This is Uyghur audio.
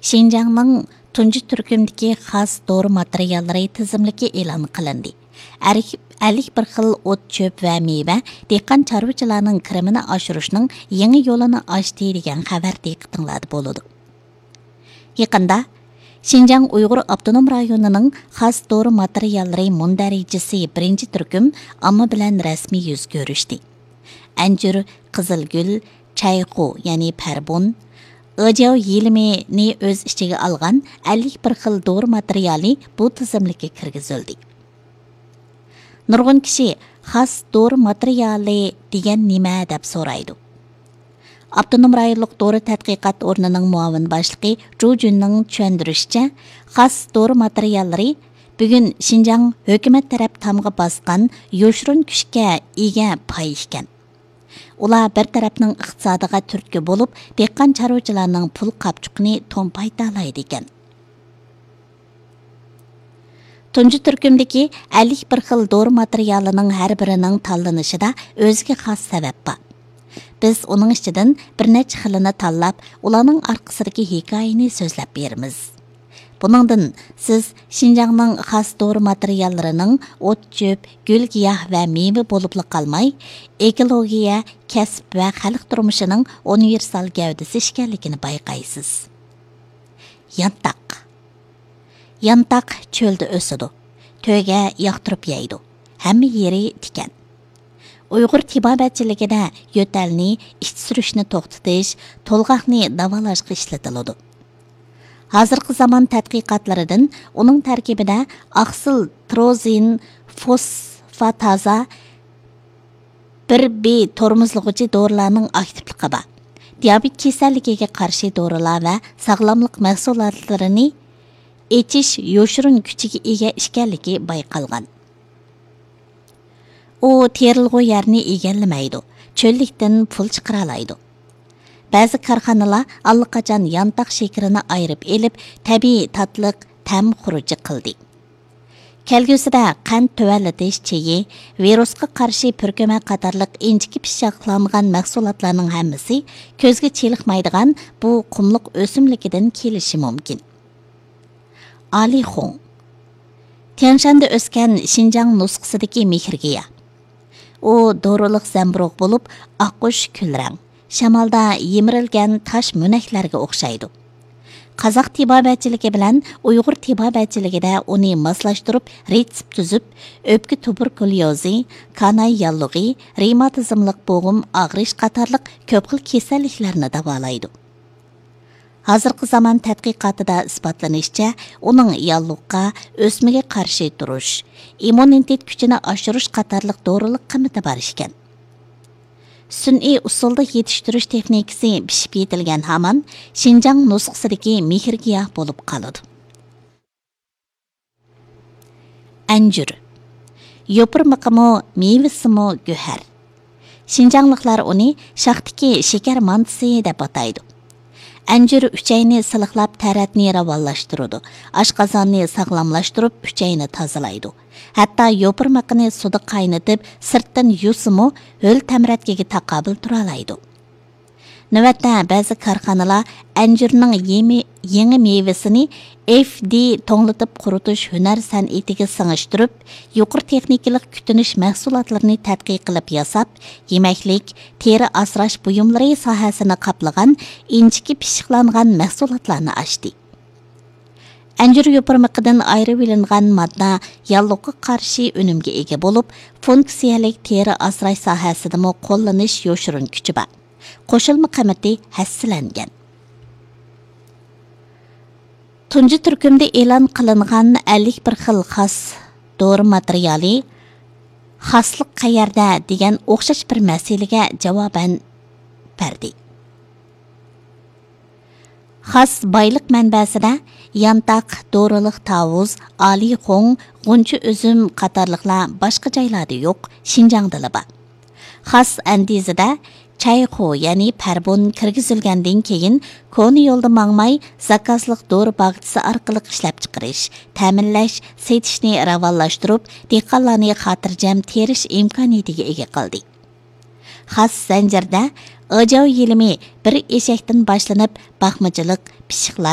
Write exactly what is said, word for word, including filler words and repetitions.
شىنجاڭنىڭ تۇنجى تۈركۈمدىكى خاس دورا ماتېرىياللىرى تىزىملىكى ئېلان قىلىندى. ئەرك-، ئەللىك بىر خىل ئوت-چۆپ ۋە مېۋە دېھقان چارۋىچىلارنىڭ كىرىمىنى ئاشۇرۇشنىڭ يېڭى يولىنى ئاچتى دېگەن خەۋەر دىققىتىڭلاردا بولىدۇ. يېقىندا شىنجاڭ ئۇيغۇر ئاپتونوم رايونىنىڭ خاس دورا ماتېرىياللىرى مۇندەرىجىسى بىرىنچى تۈركۈم ئامما بىلەن رەسمىي يۈز كۆرۈشتى. ئەنجۈر، قىزىلگۈل، چەيخۇ، يەنى پەربۇن، ئېجياۋ يېلىمىنى ئۆز ئىچىگە ئالغان ئەللىك بىر خىل دورا ماتېرىيالى بۇ تىزىملىككە كىرگۈزۈلدى. نۇرغۇن كىشى خاس دورا ماتېرىيالى دېگەن نېمە دەپ سورايدۇ. ئاپتونوم رايونلۇق دورا تەتقىقات ئورنىنىڭ مۇئاۋىن باشلىقى جۇ جۈننىڭ چۈشەندۈرۈشىچە، خاس دورا ماتېرىياللىرى بۈگۈن شىنجاڭ ھۆكۈمەت تەرەپ تامغا باسقان يوشۇرۇن كۈچكە ئىگە پاي ئىكەن. ئۇلار بىر تەرەپنىڭ ئىقتىسادىغا تۈرتكە بولۇپ، دېھقان چارۋىچىلارنىڭ پۇل قاپچۇقىنى تومپايتالايدىكەن. تۇنجى تۈركۈمدىكى ئەللىك بىر خىل دورا ماتېرىيالىنىڭ ھەر بىرىنىڭ تاللىنىشىدا ئۆزىگە خاس سەۋەب بار. بىز ئۇنىڭ ئىچىدىن بىر نەچچە خىلىنى تاللاپ، ئۇلارنىڭ ئارقىسىدىكى ھېكايىنى سۆزلەپ بېرىمىز. بۇنىڭدىن سىز شىنجاڭنىڭ خاس دورا ماتېرىياللىرىنىڭ ئوت-چۆپ، گۈل-گىياھ ۋە مېۋە بولۇپلا قالماي، ئېكولوگىيە، كەسىپ ۋە خەلق تۇرمۇشىنىڭ ئۇنىۋېرسال گەۋدىسى ئىكەنلىكىنى بايقايسىز. يانتاق. يانتاق چۆلدە ئۆسىدۇ. تۆگە ياقتۇرۇپ يەيدۇ. ھەممە يېرى تىكەن. ئۇيغۇر تېبابەتچىلىكىدە يۆتەلنى، ئىچ سۈرۈشنى توختىتىش، تولغاقنى داۋالاشقا ئىشلىتىلىدۇ. ھازىرقى زامان تەتقىقاتلىرىدىن ئۇنىڭ تەركىبىدە ئاقسىل تروزىن فوسفاتازا بىر بى تورمۇزلىغۇچى دورىلارنىڭ ئاكتىپلىقى بار. دىيابېت كېسەللىكىگە قارشى دورىلار ۋە ساغلاملىق مەھسۇلاتلىرىنى ئېچىش يوشۇرۇن كۈچىگە ئىگە ئىكەنلىكى بايقالغان. ئۇ تېرىلغۇ يەرنى ئىگىلىمەيدۇ، چۆللۈكتىن پۇل چىقىرالايدۇ. بەزى كارخانىلار ئاللىقاچان يانتاق شېكىرىنى ئايرىپ ئېلىپ، تەبىئىي تاتلىق تەم خۇرۇجى قىلدى. كەلگۈسىدە قەنت تۆۋەنلىتىش چېيى، ۋىرۇسقا قارشى پۈركۈمە قاتارلىق ئىنچىكە پىششىقلانغان مەھسۇلاتلارنىڭ ھەممىسى كۆزگە چېلىقمايدىغان بۇ قۇملۇق ئۆسۈملۈكىدىن كېلىشى مۇمكىن. ئالىخۇڭ. تيەنشاندا ئۆسكەن شىنجاڭ نۇسخىسىدىكى مېھىرگىياھ. ئۇ دورىلىق زەمبۇرۇغ بولۇپ، ئاققۇچ كۈلرەڭ، شامالدا يىمىرىلگەن تاش مۈنەكلەرگە ئوخشايدۇ. قازاق تېبابەتچىلىكى بىلەن ئۇيغۇر تېبابەتچىلىكىدە ئۇنى ماسلاشتۇرۇپ، رېتسېپ تۈزۈپ، ئۆپكە تۇبېركۇليوزى، كاناي ياللۇغى، رېماتىزملىق بوغۇم ئاغرىش قاتارلىق كۆپ خىل كېسەللىكلەرنى داۋالايدۇ. ھازىرقى زامان تەتقىقاتىدا ئىسپاتلىنىشىچە، ئۇنىڭ ياللۇغقا، ئۆسمىگە قارشى تۇرۇش، ئىممۇنىتېت كۈچىنى ئاشۇرۇش قاتارلىق دورىلىق قىممىتى بار ئىكەن. سۈنئىي ئۇسۇلدا يېتىشتۈرۈش تېخنىكىسى پىشىپ يېتىلگەن ھامان شىنجاڭ نۇسخىسىدىكى مېھىرگىياھ بولۇپ قالىدۇ. ئەنجۈر. يوپۇرمىقىمۇ، مېۋىسىمۇ گۆھەر. شىنجاڭلىقلار ئۇنى شاختىكى شېكەر مانتىسى دەپ ئاتايدۇ. ئەنجۈر ئۈچەينى سىلىقلاپ، تەرەتنى راۋانلاشتۇرىدۇ. ئاشقازاننى ساغلاملاشتۇرۇپ، ئۈچەينى تازىلايدۇ. ھەتتا يوپۇرمىقىنى سۇدا قاينىتىپ، سىرتتىن يۇسىمۇ، ھۆل تەمرەتكىگە تاقابىل تۇرالايدۇ. نۆۋەتتە بەزى كارخانىلار ئەنجۈرنىڭ يېمى-، يېڭى مېۋىسىنى ئېف دى توڭلىتىپ قۇرۇتۇش ھۈنەر سەنئىتىگە سىڭىشتۈرۈپ، يۇقىرى تېخنىكىلىق كۈتۈنۈش مەھسۇلاتلىرىنى تەتقىق قىلىپ ياساپ، يېمەكلىك، تېرە ئاسراش بۇيۇملىرى ساھەسىنى قاپلىغان ئىنچىكە پىششىقلانغان مەھسۇلاتلارنى ئاچتى. ئەنجۈر يوپۇرمىقىدىن ئايرىۋېلىنغان ماددا ياللۇغقا قارشى ئۈنۈمگە ئىگە بولۇپ، فۇنكسىيەلىك تېرە ئاسراش ساھەسىدىمۇ قوللىنىش يوشۇرۇن كۈچى بار. قوشۇلما قىممىتى ھەسسىلەنگەن. تۇنجى تۈركۈمدە ئېلان قىلىنغان ئەللىك بىر خىل خاس دورا ماتېرىيالى «خاسلىق قەيەردە؟» دېگەن ئوخشاش بىر مەسىلىگە جاۋابەن بەردى. خاس بايلىق مەنبەسىدە يانتاق، دورىلىق تاۋۇز، ئالىخۇڭ، غۇنچە ئۈزۈم قاتارلىقلار باشقا جايلاردا يوق، شىنجاڭدىلا بار. خاس ئەندىزىدە چەيخۇ، يەنى پەربۇن كىرگۈزۈلگەندىن كېيىن، كونا يولدا ماڭماي، زاكازلىق دورا باغچىسى ئارقىلىق ئىشلەپچىقىرىش، تەمىنلەش، سېتىشنى راۋانلاشتۇرۇپ، دېھقانلارنى خاتىرجەم تېرىش ئىمكانىيىتىگە ئىگە قىلدى. خاس زەنجىرىدە ئاجاۋ يېلىمى بىر ئېشەكتىن باشلىنىپ، باقمىچىلىق، پىششىقلاش،